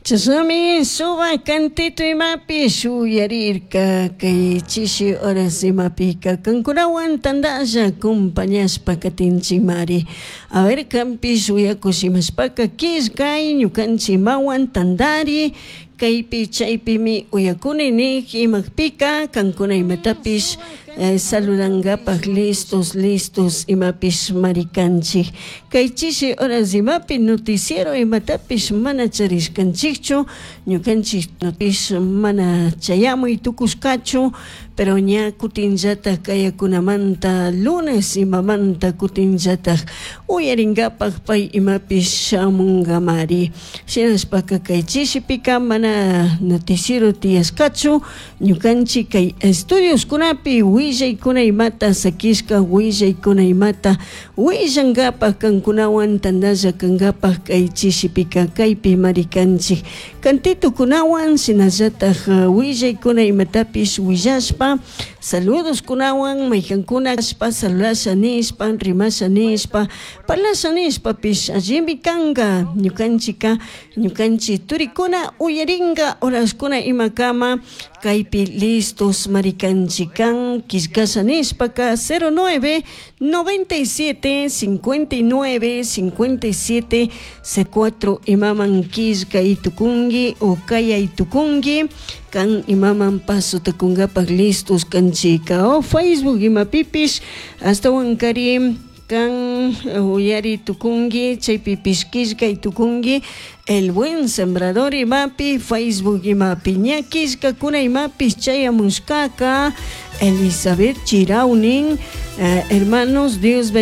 Chashnami suba cantito imapi shuyarirka kay chishi horas imapika kankunawan tandalla acompañashpa katinchikmari. A ver kanpish uyakush imashpaka killkay ñukanchik imawan tandari kaypi chaypimi uyakuni nik imapika kankuna imatapish saludangapak listos listos imapish marikanchik. Kay chishi horas imapi noticiero imatapish mana charishkanchikchu ñukanchik notish mana chayamuy tukushkachu pero ña kutinllatak kayakunamanta lunes imamanta kutinllatak uyarinkapak pay imapish shamunkamari. Shinashpaka kay chishipika mana noticiero tiyashkachu ñukanchik kay estudioskunapi willaykuna imata sakishka willaykuna imata willankapak kankunawan tandalla kankapak kay chishipika kaypi marikanchik cantitukunawan shinallatak willaykuna imatapish willashpa saludoskunawan maykankuna ashpa salulasha nishpa rimasha nishpa parlasha nishpapish allimi kanka ñukanchika ñukanchik turikuna uyarinka horaskuna imakama kaypi listos marikanchik kan killkasha nishpaka 09 97 59 57 C4 imaman killkay tukunki o kayay tukunki kan imaman paso tukunkapak listos kanchika o Facebook imapipish ashtawan kari kan uyari tukunki chaypipish killkay tukunki El Buen Sembrador imapi Facebook imapi ña killkakuna imapish chayamushkaka Elizabeth Chiraunin hermanos Dios bendiga.